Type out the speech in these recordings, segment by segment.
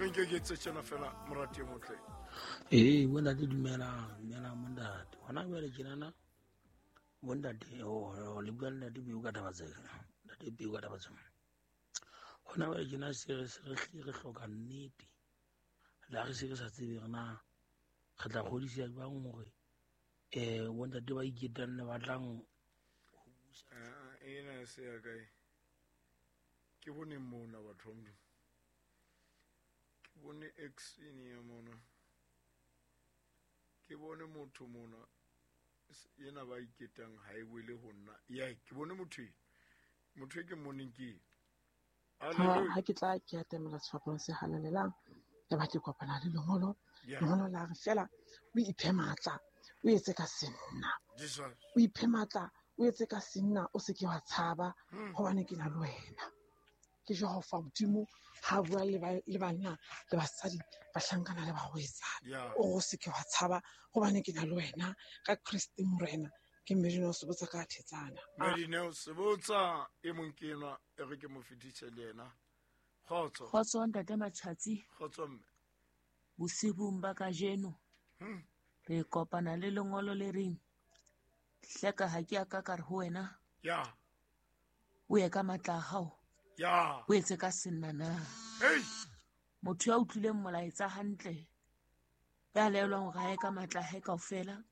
Re nke ke etse tjena fela morati e motle. Ee, bontate dumelang, dumelang bontate. Hona jwale tjenana bontate oh, le bua le ntate Peo ka taba tsena. Ntate Peo ka taba tsena. Hona jwale tjena se re se re hlile re hloka nnete. Le ha re se re sa tsebe re na re tla kgodiseha jwang hore bontate ba iketang le batlang ho busa. Ena se ya kae? Ke bone mona batho ba Modimo. Ke bone action ya mona. Ke bone motho mona ena ba iketang ha e wele ho nna. Ya ke bone motho ena. Motho e ke mmoneng ke ena. Ha ke tla ke atamela sefapano se halalelang, ya ba ke kopana le lengolo. Lengolo la re fela o iphe matla, o etse ka senna. O iphe matla, o etse ka senna, o se ke wa tshaba, hobane ke na le wena. Ke Jehova Modimo ha bua le banna le basadi, bahlankana le barwetsana. O re o se ke wa tshaba, hobane ke na le wena ka Kriste Morena. Ke Medineo Sebotsa ka Thetsana. Medineo Sebotsa e mong ke enwa, e re ke mo fetise le yena. Kgotso. Kgotso ntate Matjhatsi. Kgotso mme. Bosibung ba kajeno re kopana le lengolo le reng hleka ha ke a ka ka re ho wena. O ye ka matla a hao. O etse ka senna na. Motho ya utlwileng molaetsa hantle ya laelwang hore a ye ka matla a hae kaofela,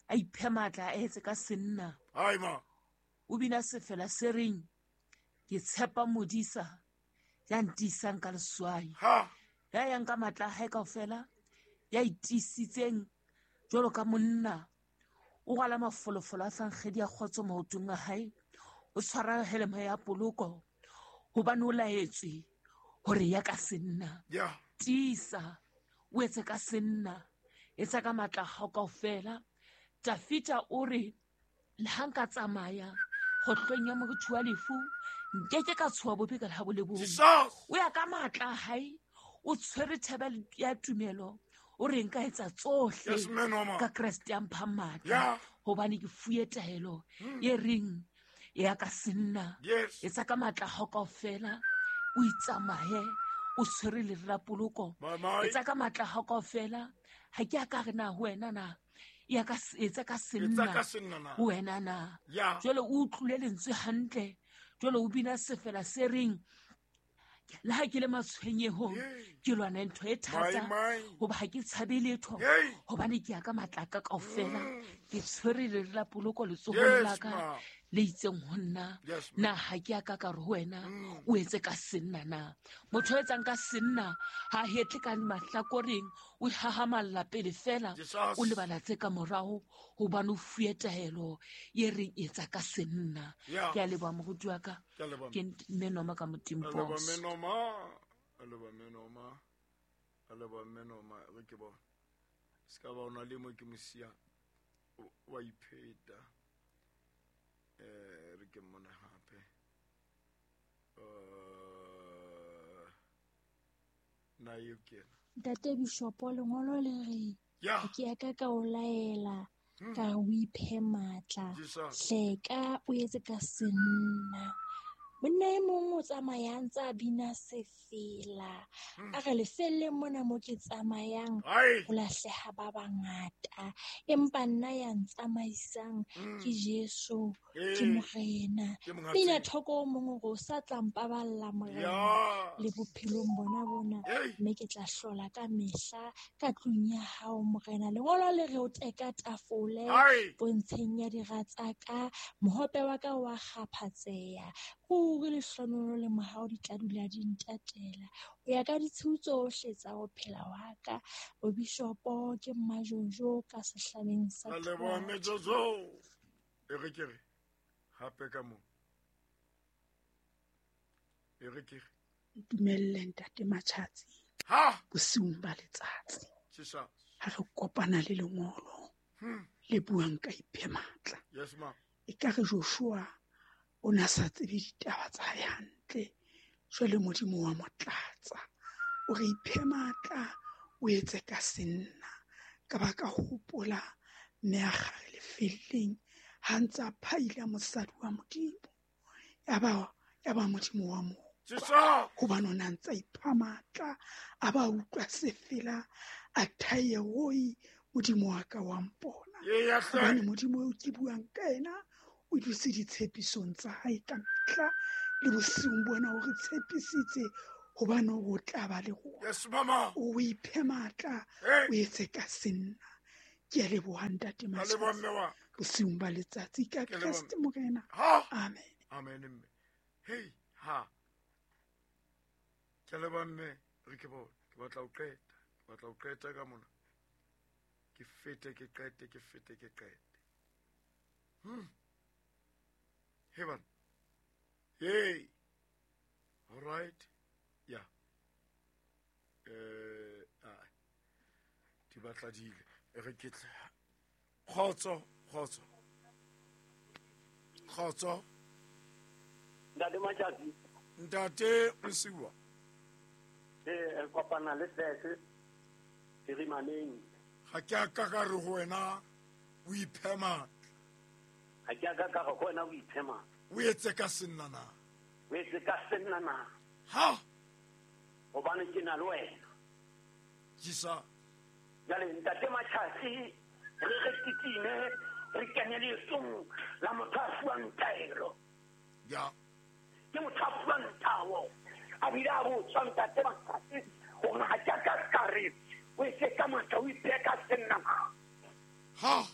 a iphe matla a etse ka senna. O bina sefela se reng ke tshepa modisa ya ntiisang ka leswai. Ya yang ka matla a hae kaofela, ya itiisitseng jwalo ka monna, o rwala mafolofolo a fankgedi ya kgotso maotong a hae, o tshwara heleme ya poloko hobane o laetswe hore ya ka senna. Tiisa, o etse ka senna, etsa ka matla a hao kaofela. Dafita o re le ha nka tsamaya kgohlong ya morithi wa lefu, nkeke ka tshoha bobe ka le ha bo le bong. O ya ka matla a hae, o tshwere thebe ya tumelo, o re nka etsa tsohle ka Kreste ya mphang matla, hobane ke fuwe taelo e reng ya ka senna. Etsa ka matla a hao kaofela, o itsamaye o tshwere lere la poloko. Etsa ka matla a hao kaofela, ha ke a ka re na ho wena na ya ka etsa ka senna ho wena na. Jwale o utlwile lentswe hantle, jwale o bina sefela se reng le ha ke le matshwenyehong ke lwana ntho e thata, hoba ha ke tshabe letho, hobane ke ya ka matla a ka kaofela, ke tshwere lere la poloko letsohong la ka le itseng ho nna. Na ha ke a ka ka re ho wena o etse ka senna na? Motho o etsang ka senna ha hetle ka mahlakoreng, o hahamalla pele fela, o lebala tse ka morao, hobane o fuwe taelo e reng etsa ka senna. Ke a leboha moruti wa ka. Ke menoma ka Modimo boss. A leboha menoma, a leboha menoma, re ke bona. Se ka ba ona le mo ke mo siya, wa ipheta. Re ke mmone hape. Na eo ke ena. Ntate Bishopo, lengolo le re, ha ke ya ka ka o laela, ka re o iphe matla. Hleka o etse ka senna. Monna e mong o tsamayang tsa bina sefela. A re lefelleng mona mo ke tsamayang, ho lahleha ba bangata. Empa nna ya ntsamaisang ke Jesu, ke Morena. Bina thoko o mong hore o sa tla mpaballa Morena le bophelong bona bona, mme ke tla hlola ka mehla ka tlung ya hao Morena. Lengolo le re o teka tafole pontsheng ya dira tsa ka, mohope wa ka wa kgaphatseha. Ruri lehlohonolo le mohau di tla dula di ntatela ho ya ka ditshiu tsohle tsa ho phela wa ka. Bobishopo ke Mmajojo ka sehlaleng sa A leboha Thwadi. Mmejojo. E re ke re hape ka moo. E re ke re. Ntumelle ntate Matjhatsi. Bosiung ba letsatsi. Jesus. Ha re kopana le lengolo le buang ka iphe matla. Yes, ma'am. E ka re Joshua o na sa tsebe ditaba tsa hae hantle. Jwale Modimo wa mo tlatsa. O re iphe matla, o etse ka senna. Ka ba ka hopola mme a kgare lefelleng ha ntse a phaila mosadi wa Modimo. Ya ba Modimo wa mo Hobane o na ntsa ipha matla, a ba utlwa sefela, a thaye oi Modimo wa ka wa mpona. Hobane Modimo eo ke buang ka ena o dutse ditshepisong tsa hae ka mehla, le bosiung bona o re tshepisitse hobane o tla ba le rona. Yes, mama. O iphe matla, o etse ka senna. Ke a leboha ntate Matjhatsi bosiung ba letsatsi ka Kreste Morena. Amen. Amen mme. Hey, ha. Ke leboha mme, re ke bone. Ke batla ho qeta. Ke batla ho qeta ka mona. Ke fete ke qete, ke fete ke qete. Hey bana. Hey. All right. Yeah. Di batla dile. Re ke tle. Khotso, khotso. Khotso. Ntate Matjhatsi. Ntate Mosiwa. Re kopana le Sese Phirimaneng. Ha ke a ka ka re ho wena o iphe matla. Ha ke a ka ka re ho wena o iphe matla. O etse ka senna na. O etse ka senna na. Ha. Hobane ke na le wena. Jisa. Jwale ntate Matjhatsi re re titime re kene leetong la motho a fuwang taelo. Ya. Ke motho a fuwang tao. A bile a botswa ntate Matjhatsi hore ha ke a ka ka re o etse ka matla o iphe ka senna. Ha.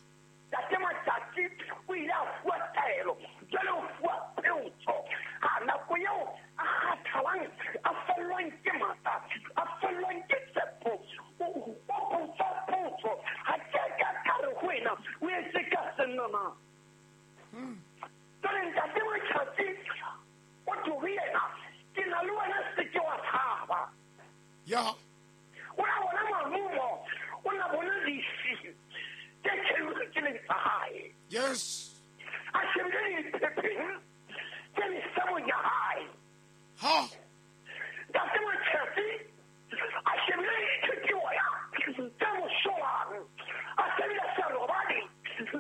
Ntate Matjhatsi o ile a fuwa taelo, jwale o fuwa peotso. Ha nako eo a kgathalang, a fellwang ke matla, a fellwang ke tshepo, o botsa potso. Ha ke a ka ka re ho wena o etse ka senna na. Jwale ntate Matjhatsi o tho ho yena, ke na le wena, se ke wa tshaba. Ya. O na bona marumo, o na bona lefi tse tjheletseng tsa hae. Yes. A shebile diphepheng tse mesebong ya hae. Ha. Ntate Matjhatsi a shebile dithutuoya tse mosolang, a shebile serobadi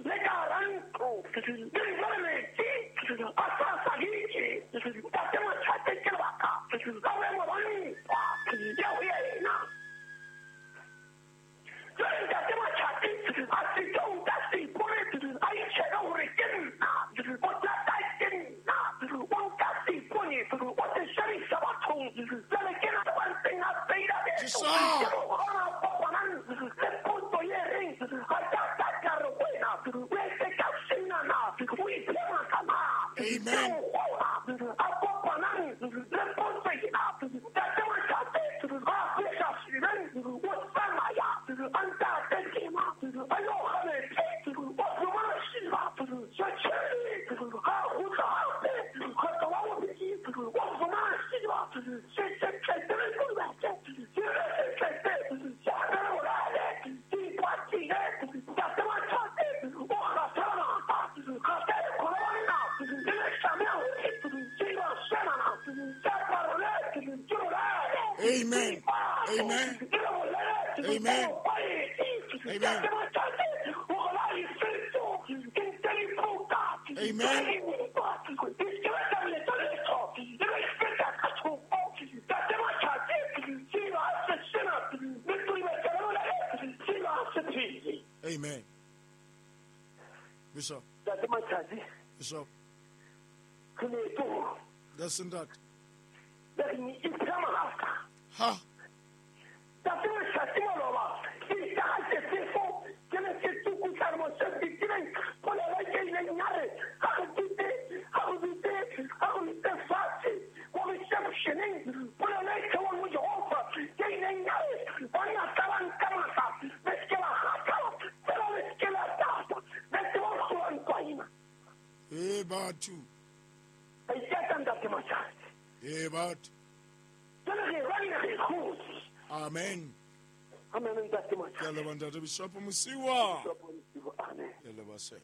le ka hara ntlo, le jwale metsi a sa saditse. Ntate Matjhatsi ke lebaka la boemo ba ntwa ya ho yena. Jwale ntate Matjhatsi a sitwa ho nka seipone, a itjhebe hore ke nna, bothata ke nna. O nka seipone, o se shebisa bathong. Jwale ke na ba ntseng a feila beto. Ke hona kopanang le potso e reng, ha ke a ka ka re ho wena o etse ka senna na, o iphe matla na. Amen. A kopanang le potso ena. Ntate Matjhatsi a fihla sedibeng, o tsamaya a ntate tema, a yo kga metsi, o fumana sediba se tjhele. Ha kgutla hape kgetlo wa bobedi, o fumana sediba se tletse le kodubetse, se tletse se apere bolale, se ipatile. Ntate Matjhatsi o kgathala matla, kgathala kholo banna le leshame hore sediba senana se aparole ke bolale. Amen. Amen. Amen. Amen. Amen. Amen. Bishop. Bishop. That's in that. Ha. E batho. E batho. Amen. Amen. Ke a leboha ntate Bishop Mosiwa. Amen. Ke a leboha sir.